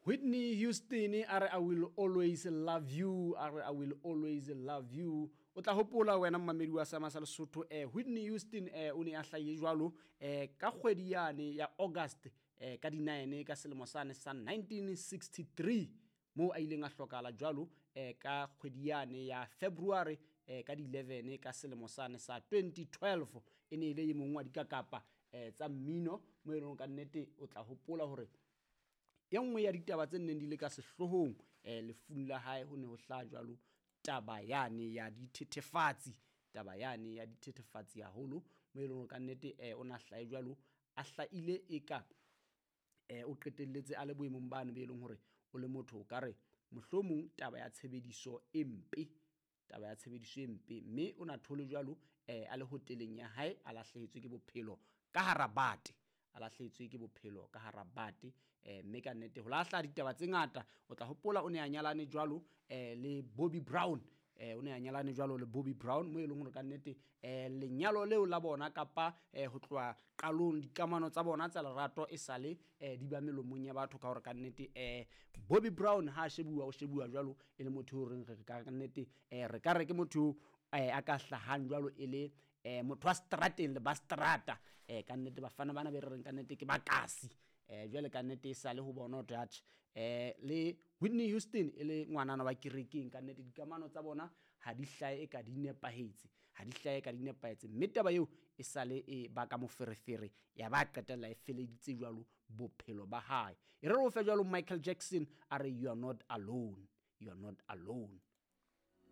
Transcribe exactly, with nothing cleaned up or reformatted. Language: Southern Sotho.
Whitney Houston a re, "I will always love you." A re, "I will always love you." O tla hopola wena mmamedi wa Sama sa Lesotho, eh Whitney Houston eh o ne a hlaile jwalo eh ka kgwedi yane ya August eh ka di-nine ka selemo sane sa nineteen sixty-three, moo a ileng a hlokahala jwalo eh ka kgwedi yane ya February eh ka di-eleven ka selemo sane sa twenty twelve. E ne e le e mong wa dikakapa eh tsa mmino, mo e leng ka nnete o tla hopola hore e nngwe ya ditaba tse neng di le ka sehloohong eh lefung la hae, ho ne ho hlaha jwalo taba yane ya dithethefatsi, taba yane ya dithethefatsi haholo, mo e leng hore ka nnete eh o na hlahe jwalo a hlaile eka eh o qetelletse a le boemong bane be leng hore o le motho o ka re mohlomong taba ya tshebediso e mpe, taba ya tshebediso e mpe. Mme o na thole jwalo eh a le hoteleng ya hae, a lahlehetswe ke bophelo ka hara bate, a lahlehetswe ke bophelo ka hara bate. eh mme ka nnete ho lahla ditaba tse ngata. O tla hopola o ne a nyalane jwalo eh le Bobby Brown, eh o ne a nyalane jwalo le Bobby Brown, mo e leng hore ka nnete eh lenyalo leo la bona kapa eh ho tloha qalong dikamano tsa bona tsa lerato e sale eh di ba melomong ya batho, ka hore ka nnete eh Bobby Brown ha a shebuwa, o shebuwa jwalo e le motho o reng re ka nnete eh re ka re ke motho eh a ka hlahang jwalo e le eh motho wa strateng le ba strata. eh ka nnete bafana bana be re reng ka nnete ke bakasi. eh jwale ka nnete e sale ho bona hore atjhe eh le Whitney Houston e le ngwanana wa kerekeng, ka nnete dikamano tsa bona ha di hlahe e ka di nepahetse, ha di hlahe ka di nepahetse. Mme taba eo e sale e baka moferefere, ya ba qetella e feleditse jwalo bophelo ba hae. E re re o fe jwalo Michael Jackson, a re, "You are not alone, you are not alone."